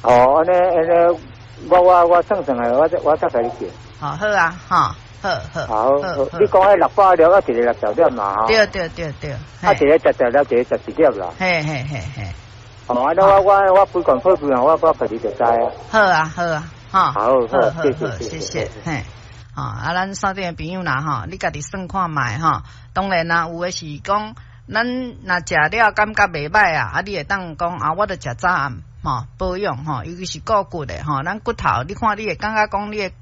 哦，按呢按呢，我算算下，我再共你叫。好，好啊，吼，好好。好，你講彼600粒啊，一个60粒嘛，吼。對對對對。啊，一个食十粒，一个食一粒啦。嘿嘿嘿嘿。哦，啊，那我規罐破病，我家己就知啊。好啊好啊，吼。好，好，謝謝謝謝，嘿。吼，啊，咱線頂的朋友啦，吼，你家己算看覓吼。當然啦，有的是講，咱若食了感覺袂䆀啊，啊，你會當講啊，我著食早暗吼保養吼，尤其是顧骨的吼，咱骨頭，你看你會感覺講你的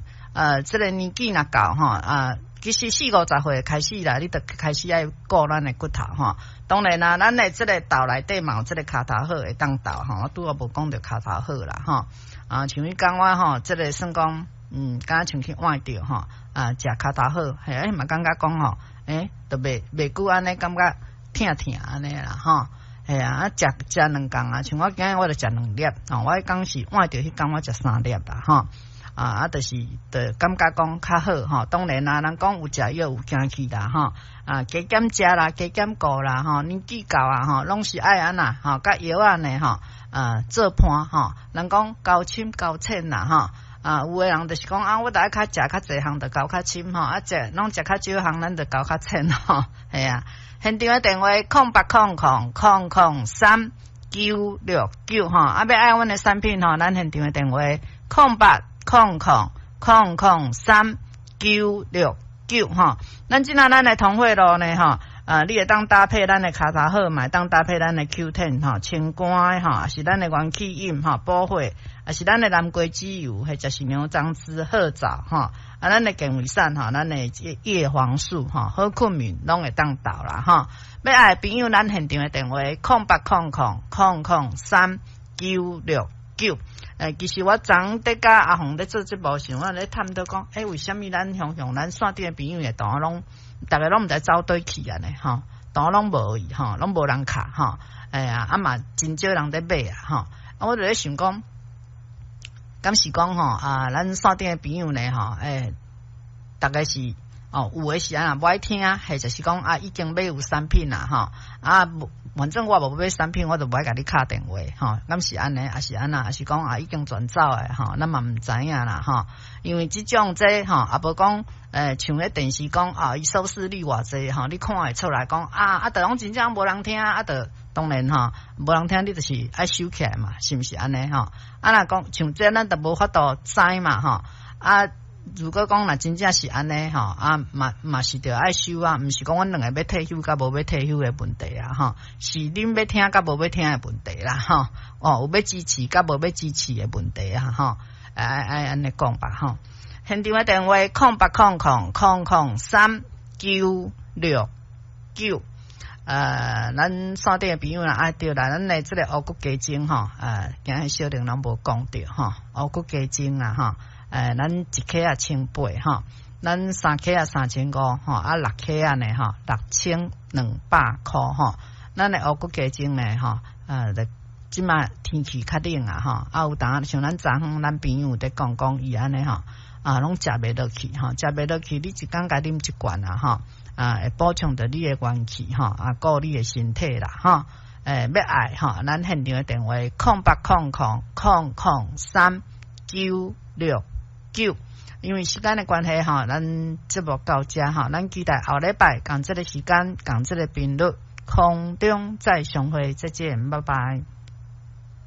這个年紀若到吼啊，其實四五十歲開始啦，你著開始愛顧咱的骨頭吼。當然啦，咱的這个豆內底嘛有這个跤頭好會當鬥吼，我拄仔無講著跤頭好啦吼。啊，像彼工我吼，這个算講，敢若像去換著吼，啊，食跤頭好，嘿，欸嘛感覺講吼，欸，著袂久按呢感覺疼疼按呢啦吼，嘿啊，啊，食食兩工啊，像我今日我著食兩粒，吼，我彼工是換著彼工我食三粒啦吼，啊啊，就是著感覺講較好吼。當然啦，人講有食藥有驚去啦吼，啊，加減食啦，加減顧啦吼，年紀到啊吼，攏是愛按怎吼，佮藥仔呢吼，啊，做伴吼，人講交深交淺啦吼。啊，有的人就是講啊，我著愛較食較濟項，就交較深吼，啊，食攏食較少項，咱就交較淺吼，係啊。現場的電話0800003969吼，啊，欲愛阮的產品吼，咱現場的電話0800003969吼。咱這若咱的通血露呢吼，啊，你會當搭配咱的跤頭好，嘛會當搭配咱的 Q10 吼，清肝的吼，抑是咱的元氣飲吼，補血，抑是咱的南瓜籽油，或者是牛樟芝褐藻吼，啊，咱的健胃散吼，咱的葉黃素吼，好睏眠攏會當鬥啦吼。欲愛的朋友，咱現場的電話0800003969。欸，其實我昨昏佇佮阿紅咧做節目時，我咧探討講，欸，為啥物咱雄雄咱線頂的朋友會當攏，逐个攏毋知走佗去按呢吼，當攏無去吼，攏無人敲吼，哎呀，啊嘛真少人咧買啊吼，啊我就咧想講，敢是講吼啊，咱線頂的朋友呢吼，欸，逐个是哦，有的是按怎無愛聽，或者是講啊已經買有產品啦吼，啊無反正我無買產品，我就無愛共你敲電話吼，敢是按呢，抑是按怎，抑是講啊已經轉走的吼，咱嘛毋知影啦吼，因為這種這吼，也無講像彼電視講啊，伊收視率偌濟吼，你看會出來講啊啊，著攏真正無人聽啊，著當然吼，無人聽你就是愛收起來嘛，是毋是按呢吼？啊若講像這咱著無法度知嘛吼，啊。如果講若真正是按呢吼，啊嘛嘛是著愛收啊，毋是講阮兩个欲退休佮無欲退休的問題啊吼，是恁欲聽佮無欲聽的問題啦吼，哦有欲支持佮無欲支持的問題啊吼，愛愛按呢講吧吼。現場的電話0800003969。咱線頂的朋友啦，啊對啦，咱的這个烏骨雞精吼，今日小玲攏無講著吼，烏骨雞精啊吼。咱一克仔千八吼，咱三克仔3500吼，啊六克仔呢吼，6200塊吼。咱的烏骨雞精呢吼，這馬天氣較冷啊吼，啊有當像咱昨昏咱朋友佇講講伊按呢吼，啊攏食袂落去吼，食袂落去，你一工共啉一罐啊吼，啊會補充著你的元氣吼，啊顧你的身體啦吼。欲愛吼，咱現場的電話0800003969。因為時間的關係吼，咱節目到這吼，咱期待後禮拜仝這个時間，仝這个頻率，空中再相會，再見，拜拜。